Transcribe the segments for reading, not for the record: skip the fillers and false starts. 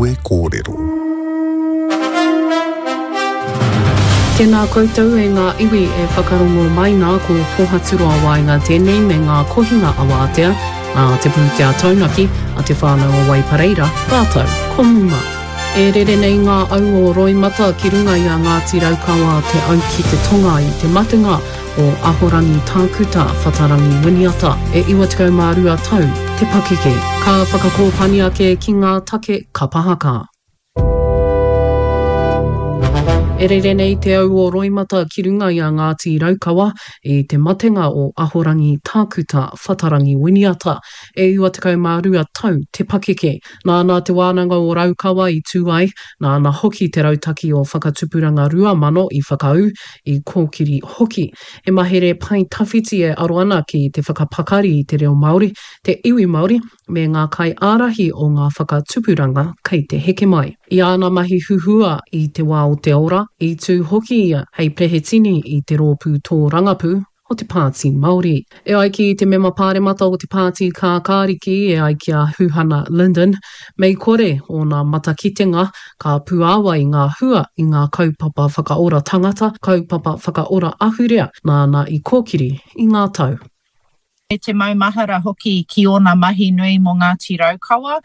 Kawe Kōrero. Tēnā koutou e ngā iwi e whakarongo mai nā ko Pōhaturoa Waenga tēnei me ngā kohinga awātea a Te Pūtea Taunaki a Te Whānau o Waipareira rātou ko Muma. E rere nei ngā au o roimata ki runga i a Ngāti Raukawa Te Au ki te Tonga i te matenga o Ahorangi Tākuta Whatarangi Winiata e 92 tau te pakeke. Ka whakakōpani ake ki ngā take kapa haka. E rere nei te au o roimata ki runga i a Ngāti Raukawa i te matenga o Ahorangi Tākuta Whatarangi Winiata e 92 tau te pakeke. Nāna Te Wānanga o Raukawa i tū ai, nāna hoki te rautaki o Whakatupuranga 2000 i whakaū, i kōkiri hoki. He mahere pae tawhiti e aro ana ki te whakapakari i te reo Māori, te iwi Māori, me ngā kaiārahi o ngā whakatupuranga kei te heke mai. I āna mahi huhua i te wā o te ora, i tū hoki ia hei perehetini i te rōpū tōrangapū o te Pāti Māori. E ai ki te mema pāremata o te Pāti Kākāriki e ai ki a Huhana Lyndon, mei kore ōna matakitenga ka puāwai ngā hua i ngā kaupapa whakaora tangata, kaupapa whakaora ahurea nāna i kōkiri i ngā tau. Me te maumahara hoki ki ōna mahi nui mō Ngāti Raukawa,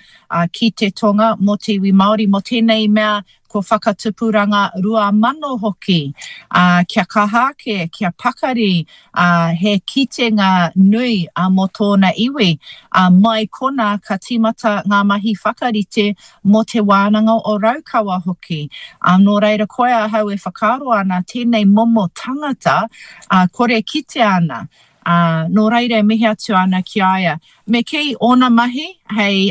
ki te tonga, mō te iwi Māori, mō tēnei mea ko Whakatupuranga 2000 hoki, ā, kia kaha ake, kia pakari, ā, he kitenga nui mō tōna iwi. Ā, mai konā ka tīmata ngā mahi whakarite mō Te Wānanga o Raukawa hoki. Ā, nō reira koia ahau e whakaaro ana tēnei momo tangata, ā, kore kitea ana. Ā, nō reira e mihi atu ana ki a ia. Me kī ōna mahi hei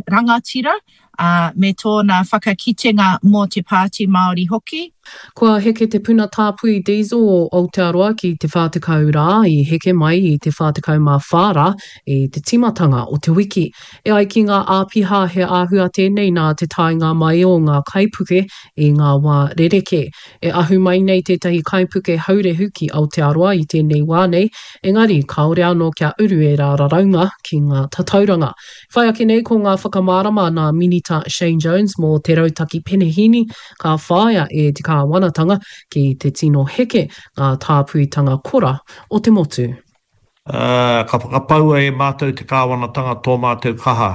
rangatira, ā, me tōna whakakitenga mō te Pāti Māori hoki. Kua heke te puna tāpui diesel o Aotearoa ki te 40 rā, i heke mai i te 44 rā i te tīmatanga o te wiki. E ai ki ngā āpiha he āhua tēnei nā te taenga mai o ngā kaipuke i ngā wā rerekē. E ahu mai nei tētahi kaipuke haurehu ki Aotearoa i tēnei wā nei, engari kāore anō kia uru ērā raraunga ki ngā tatauranga. Whai ake nei ko ngā whakamārama nā Minita Shane Jones mō te rautaki penehīni ka whāia e te kāwanatanga ki te tino heke ngā tāpuitanga kora o te motu. Ā, ka whakapaua e mātou te kāwanatanga tō mātou kaha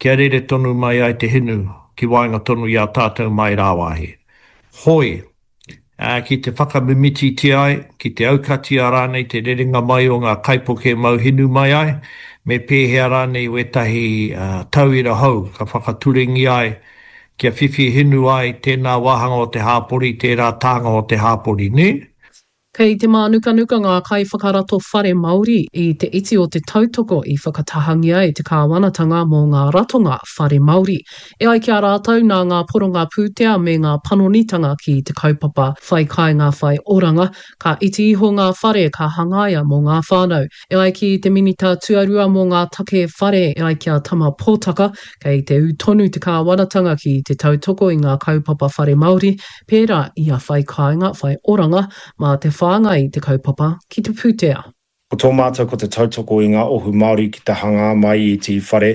kia rere tonu mai ai te hinu ki waenga tonu i a tātou mai rāwāhi. Hoi, ā, ki te whakamimititia ai, ki te aukatia rānei te rerenga mai o ngā kaipuke mau hinu mai ai, me pēhea rānei wētahi tauira hou ka whakaturengia ai kia whiwhi hinu ai tēnā wāhanga o te hāpori, tērā tānga o te hāpori, nē? Kei te mānukanuka ngā kaiwhakarato whare Māori i te iti o te tautoko i whakatahangia e te kāwanatanga mō ngā ratonga whare Māori. E ai ki a rātou, nā ngā poronga pūtea me ngā panonitanga ki te kaupapa Whai Kāinga Whai Oranga, ka iti iho ngā whare ka hangaia mō ngā whānau. E ai ki te Minita Tuarua mō ngā Take Whare, e ai ki a Tama Potaka, kei te ū tonu te kāwanatanga ki te tautoko i ngā kaupapa whare Māori, pērā i a Whai Kāinga, Whai Oranga, mā te whāngai i te kaupapa ki te pūtea. Ko tō mātou ko te tautoko i ngā ohu Māori ki te hangā mai i te whare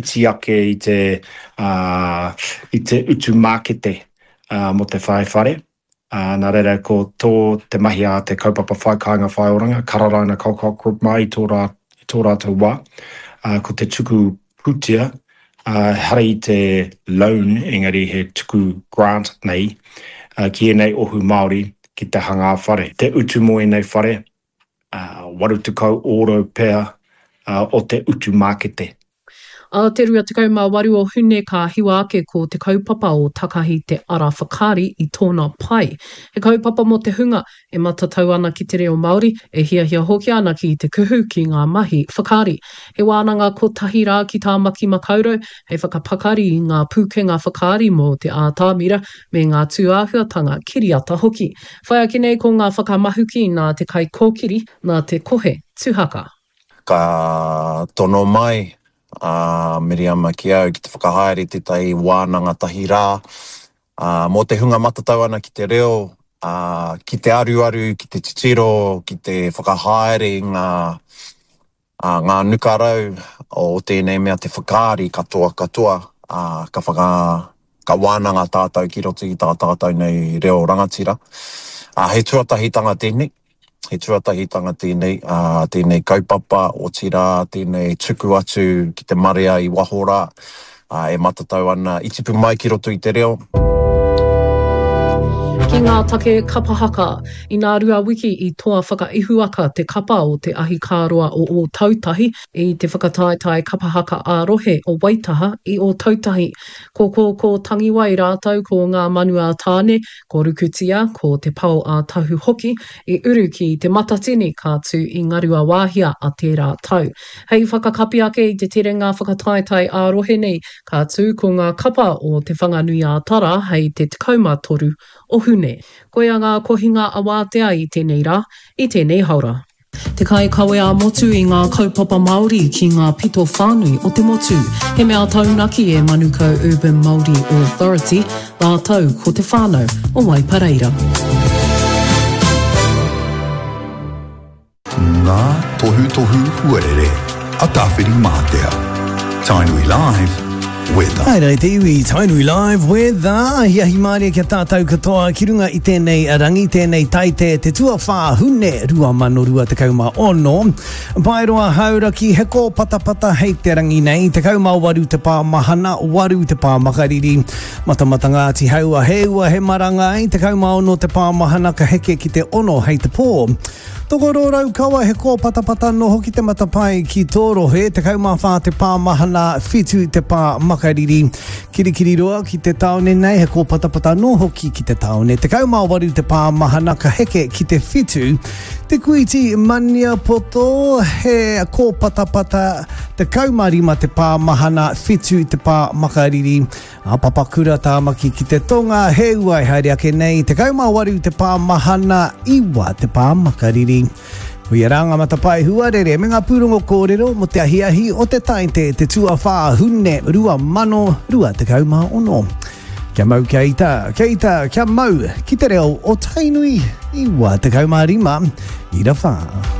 iti ake i te i te utu mākete mō te whai whare. Nā reira ko tō te mahi a te kaupapa Whai Kāinga Whai Oranga, Kararaina Colcock Group mā i tō rā i tō rātou wā, ko te tuku pūtea, ehara i te loan engari he tuku grant nei ki ēnei ohu Māori ki te hangā whare. Te utu mō ēnei whare, 80 ōrau pea o te utu mākete. Ā te 28 o Hune ka hiwa ake ko te kaupapa o Takahi te Ara Whakaari i tōna pae. He kaupapa mō te hunga e matatau ana ki te reo Māori, e hiahia hoki ana ki te kuhu ki ngā mahi whakaari. He wānanga kotahi rā ki Tāmaki Makaurau hei whakapakari i ngā pūkenga whakaari mō te ātamira me ngā tūāhuatanga kiriata hoki. Whai ake nei ko ngā whakamahuki nā te kaikōkiri, nā te kohe tuhaka. Ka tono mai a Miriama ki au ki te whakahaere tētahi wānanga tahi rā Ā, mō te hunga matatau ana ki te reo, ā, ki te aruaru, ki te titiro, ki te whakahaere i ngā, ā, ngā nukarau o tēnei mea te whakaari katoa katoa. ā, ka whaka, ka wānanga tātou ki roto i tā tātou nei reo rangatira. Ā, he tuatahitanga tēnei, he tuatahitanga tēnei, ā, tēnei kaupapa, otirā, tēnei tuku atu ki te marea i waho rā, ā, e matatau ana, i tipu mai ki roto i te reo. Ki ngā take kapa haka, inā rua wiki i toa whakaihuwaka te kapa o Te Ahikāroa o Ōtautahi i te whakataetae kapa haka ā-rohe o Waitaha i Ōtautahi. Ko Kōkō Tangiwai rātou ko Ngā Manu a Tāne, ko Rukutia, ko Te Pao a Tahu hoki i uru ki Te Matatini ka tū i Ngaruawāhia a tērā tau. Hei whakakapi ake i te terenga whakataetae ā-rohe nei, ka tū ko ngā kapa o Te Whanganui-ā-Tara hei te 13 o Hune. Koia ngā kohinga awātea i tēnei rā, i tēnei haora. Te kaikawe ā-motu i ngā kaupapa Māori ki ngā pito whānui o te motu. He mea taunaki e Manukau Urban Māori Authority rātou ko te whānau o Waipareira. Ngā tohutohu huarere a Tāwhirimātea. Tainui Live, Weather. Haere te iwi, Tainui Live, Weather. Ahiahi mārie kia tātou katoa ki runga i tēnei rangi, tēnei taite, te tuawhā Hune 2026. Paeroa Hauraki, he kōpatapata hei te rangi nei, 18 te pā mahana, 8 te pā makariri. Matamata Ngāti Haua, he ua, he marangai, 16 te pā mahana ka heke ki te 6 hei te pō. Tokoro Raukawa, he kōpatapata anō hoki te matapae ki tō rohe, 14 te pā mahana, 7 te pā makariri. Kirikiriroa ki te tāone nei, he kōpatapata anō hoki ki te tāone, 18 te pā mahana ka heke ki te 7. Te Kuiti Maniapoto, he kōpatapata, 15 te pā mahana, 7 te pā makariri. A Papakura Tāmaki ki te tonga, he ua e haere ake nei, 18 te pā mahana, 9 te pā makariri. Koia rā ngā matapae huarere me ngā pūrongo kōrero mō te ahiahi o te Taite te tuawhā Hune 2026. Kia mau kia ita, kia ita, kia mau ki te reo o Tainui 95 ira whā.